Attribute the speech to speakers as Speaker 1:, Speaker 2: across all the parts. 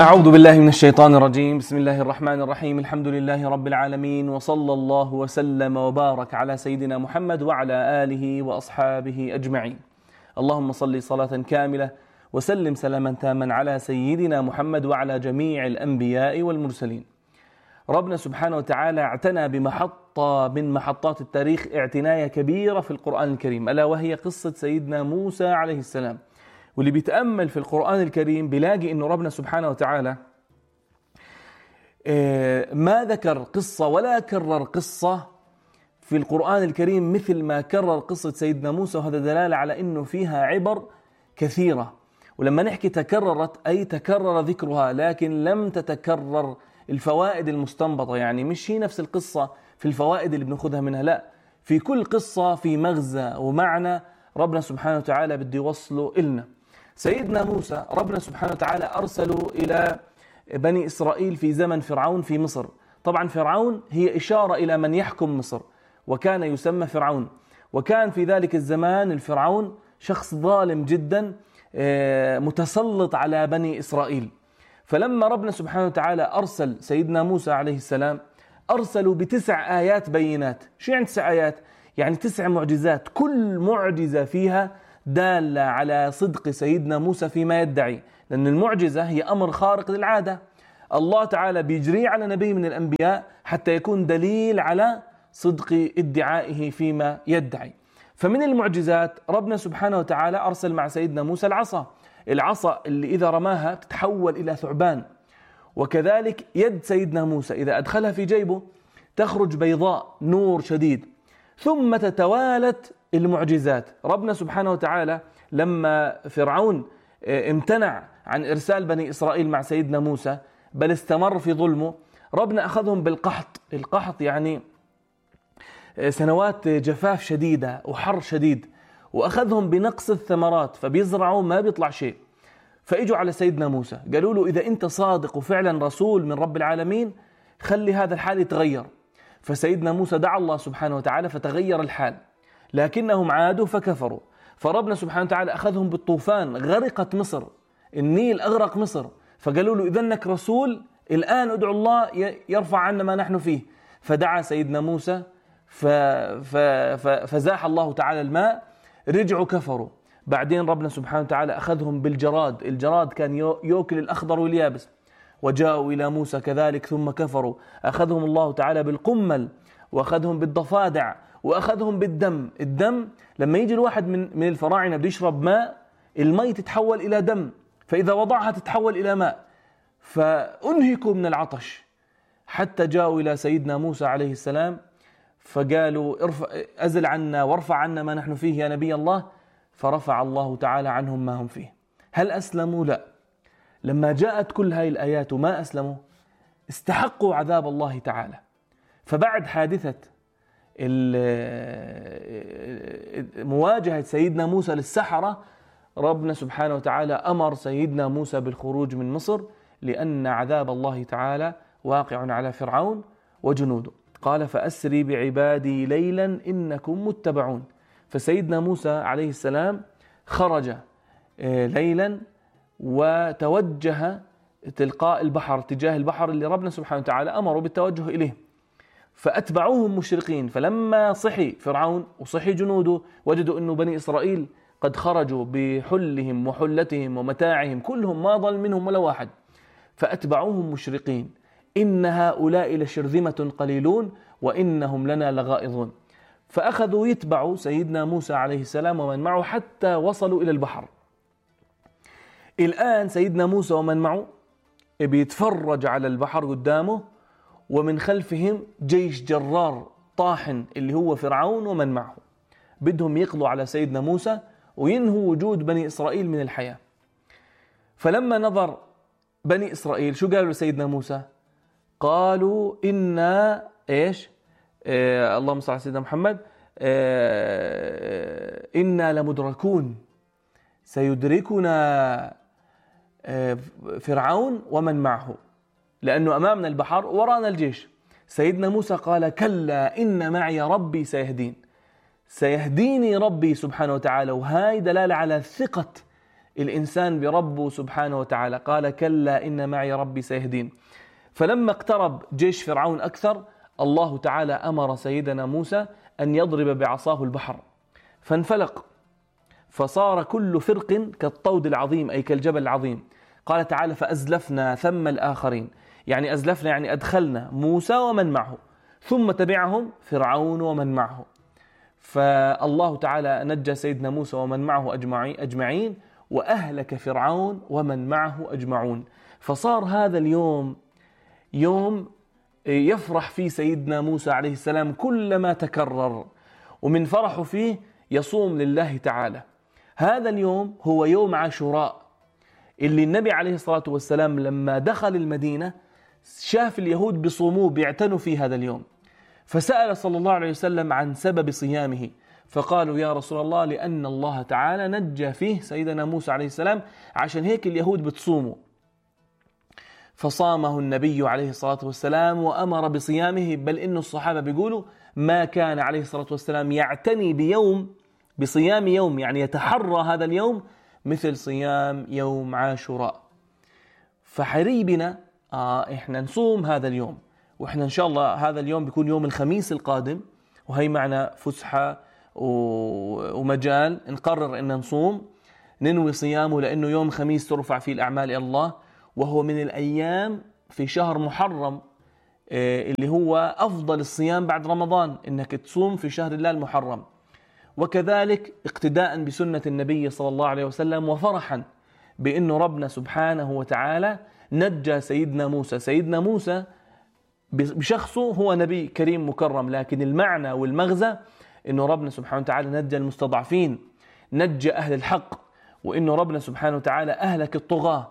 Speaker 1: أعوذ بالله من الشيطان الرجيم. بسم الله الرحمن الرحيم. الحمد لله رب العالمين، وصلى الله وسلم وبارك على سيدنا محمد وعلى آله وأصحابه أجمعين. اللهم صل صلاة كاملة وسلم سلاما تاما على سيدنا محمد وعلى جميع الأنبياء والمرسلين. ربنا سبحانه وتعالى اعتنى بمحطة من محطات التاريخ اعتناية كبيرة في القرآن الكريم، ألا وهي قصة سيدنا موسى عليه السلام. واللي بيتأمل في القرآن الكريم بيلاقي إنه ربنا سبحانه وتعالى ما ذكر قصة ولا كرر قصة في القرآن الكريم مثل ما كرر قصة سيدنا موسى، وهذا دلالة على إنه فيها عبر كثيرة. ولما نحكي تكررت أي تكرر ذكرها لكن لم تتكرر الفوائد المستنبطة، يعني مش هي نفس القصة في الفوائد اللي بنأخذها منها، لا، في كل قصة في مغزى ومعنى ربنا سبحانه وتعالى بده يوصله إلنا. سيدنا موسى ربنا سبحانه وتعالى أرسله إلى بني إسرائيل في زمن فرعون في مصر. طبعا فرعون هي إشارة إلى من يحكم مصر، وكان يسمى فرعون، وكان في ذلك الزمان الفرعون شخص ظالم جدا متسلط على بني إسرائيل. فلما ربنا سبحانه وتعالى أرسل سيدنا موسى عليه السلام أرسلوا ب9 آيات بينات. شو يعني 9 آيات؟ يعني 9 معجزات، كل معجزة فيها دالة على صدق سيدنا موسى فيما يدعي، لأن المعجزة هي أمر خارق للعادة، الله تعالى بيجريه على نبي من الأنبياء حتى يكون دليل على صدق ادعائه فيما يدعي. فمن المعجزات ربنا سبحانه وتعالى أرسل مع سيدنا موسى العصا اللي إذا رماها تتحول إلى ثعبان، وكذلك يد سيدنا موسى إذا أدخلها في جيبه تخرج بيضاء نور شديد. ثم تتوالت المعجزات. ربنا سبحانه وتعالى لما فرعون امتنع عن إرسال بني إسرائيل مع سيدنا موسى بل استمر في ظلمه، ربنا أخذهم بالقحط. القحط يعني سنوات جفاف شديدة وحر شديد، وأخذهم بنقص الثمرات، فبيزرعوا ما بيطلع شيء. فإجوا على سيدنا موسى قالوا له إذا أنت صادق وفعلا رسول من رب العالمين خلي هذا الحال يتغير. فسيدنا موسى دعا الله سبحانه وتعالى فتغير الحال، لكنهم عادوا فكفروا. فربنا سبحانه وتعالى أخذهم بالطوفان، غرقت مصر، النيل أغرق مصر. فقالوا له إذا أنك رسول الآن ادعو الله يرفع عنا ما نحن فيه. فدعا سيدنا موسى فزاح الله تعالى الماء، رجعوا كفروا. بعدين ربنا سبحانه وتعالى أخذهم بالجراد، الجراد كان يأكل الأخضر واليابس، وجاءوا إلى موسى كذلك ثم كفروا. أخذهم الله تعالى بالقمل، وأخذهم بالضفادع، وأخذهم بالدم. الدم لما يجي الواحد من الفراعنة بده يشرب ماء، الماء تتحول إلى دم، فإذا وضعها تتحول إلى ماء، فأنهكوا من العطش حتى جاءوا إلى سيدنا موسى عليه السلام فقالوا أزل عنا وارفع عنا ما نحن فيه يا نبي الله. فرفع الله تعالى عنهم ما هم فيه. هل أسلموا؟ لا. لما جاءت كل هاي الآيات وما أسلموا استحقوا عذاب الله تعالى. فبعد حادثة مواجهة سيدنا موسى للسحرة ربنا سبحانه وتعالى أمر سيدنا موسى بالخروج من مصر، لأن عذاب الله تعالى واقع على فرعون وجنوده. قال فأسري بعبادي ليلا إنكم متبعون. فسيدنا موسى عليه السلام خرج ليلا وتوجه تلقاء البحر، تجاه البحر اللي ربنا سبحانه وتعالى أمره بالتوجه إليه. فأتبعوهم مشرقين. فلما صحي فرعون وصحي جنوده وجدوا أن بني إسرائيل قد خرجوا بحلهم وحلتهم ومتاعهم كلهم، ما ضل منهم ولا واحد. فأتبعوهم مشرقين. إن هؤلاء لشرذمة قليلون وإنهم لنا لغائظون. فأخذوا يتبعوا سيدنا موسى عليه السلام ومن معه حتى وصلوا إلى البحر. الآن سيدنا موسى ومن معه بيتفرج على البحر قدامه، ومن خلفهم جيش جرار طاحن اللي هو فرعون ومن معه، بدهم يقضوا على سيدنا موسى وينهوا وجود بني إسرائيل من الحياة. فلما نظر بني إسرائيل شو قالوا لسيدنا موسى؟ قالوا إنا إيش؟ اللهم صل على سيدنا محمد. إنا لمدركون، سيدركنا فرعون ومن معه، لأنه أمامنا البحر ورانا الجيش. سيدنا موسى قال كلا إن معي ربي سيهديني ربي سبحانه وتعالى. وهاي دلالة على ثقة الإنسان بربه سبحانه وتعالى. قال كلا إن معي ربي سيهدين. فلما اقترب جيش فرعون أكثر، الله تعالى أمر سيدنا موسى أن يضرب بعصاه البحر، فانفلق، فصار كل فرق كالطود العظيم، أي كالجبل العظيم. قال تعالى فأزلفنا ثم الآخرين، يعني أزلفنا يعني أدخلنا موسى ومن معه، ثم تبعهم فرعون ومن معه. فالله تعالى نجى سيدنا موسى ومن معه أجمعين، وأهلك فرعون ومن معه أجمعون. فصار هذا اليوم يوم يفرح فيه سيدنا موسى عليه السلام كلما تكرر، ومن فرحه فيه يصوم لله تعالى. هذا اليوم هو يوم عاشوراء، اللي النبي عليه الصلاة والسلام لما دخل المدينة شاف اليهود بصوموه، بيعتنوا في هذا اليوم، فسأل صلى الله عليه وسلم عن سبب صيامه، فقالوا يا رسول الله لأن الله تعالى نجى فيه سيدنا موسى عليه السلام، عشان هيك اليهود بتصوموا. فصامه النبي عليه الصلاة والسلام وأمر بصيامه، بل إن الصحابة بيقولوا ما كان عليه الصلاة والسلام يعتني بصيام يوم، يعني يتحرى هذا اليوم مثل صيام يوم عاشوراء. فحري بنا إحنا نصوم هذا اليوم، وإحنا إن شاء الله هذا اليوم بيكون يوم الخميس القادم، وهي معنا فسحة ومجال نقرر إن نصوم، ننوي صيامه، لأنه يوم خميس ترفع فيه الأعمال إلى الله، وهو من الأيام في شهر محرم اللي هو أفضل الصيام بعد رمضان، إنك تصوم في شهر الله المحرم. وكذلك اقتداء بسنة النبي صلى الله عليه وسلم، وفرحا بأنه ربنا سبحانه وتعالى نجى سيدنا موسى. سيدنا موسى بشخصه هو نبي كريم مكرم، لكن المعنى والمغزى أنه ربنا سبحانه وتعالى نجى المستضعفين، نجى أهل الحق، وأنه ربنا سبحانه وتعالى أهلك الطغاة.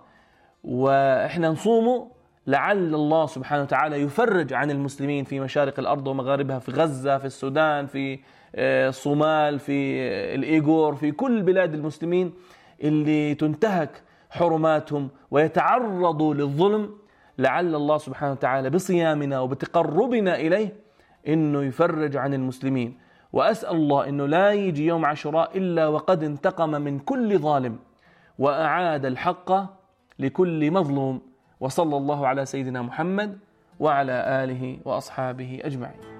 Speaker 1: وإحنا نصومه لعل الله سبحانه وتعالى يفرج عن المسلمين في مشارق الأرض ومغاربها، في غزة، في السودان، في الصومال، في الإيغور، في كل بلاد المسلمين اللي تنتهك حرماتهم ويتعرضوا للظلم. لعل الله سبحانه وتعالى بصيامنا وبتقربنا إليه إنه يفرج عن المسلمين. وأسأل الله إنه لا يجي يوم عاشوراء إلا وقد انتقم من كل ظالم، وأعاد الحق لكل مظلوم. وصلى الله على سيدنا محمد وعلى آله وأصحابه أجمعين.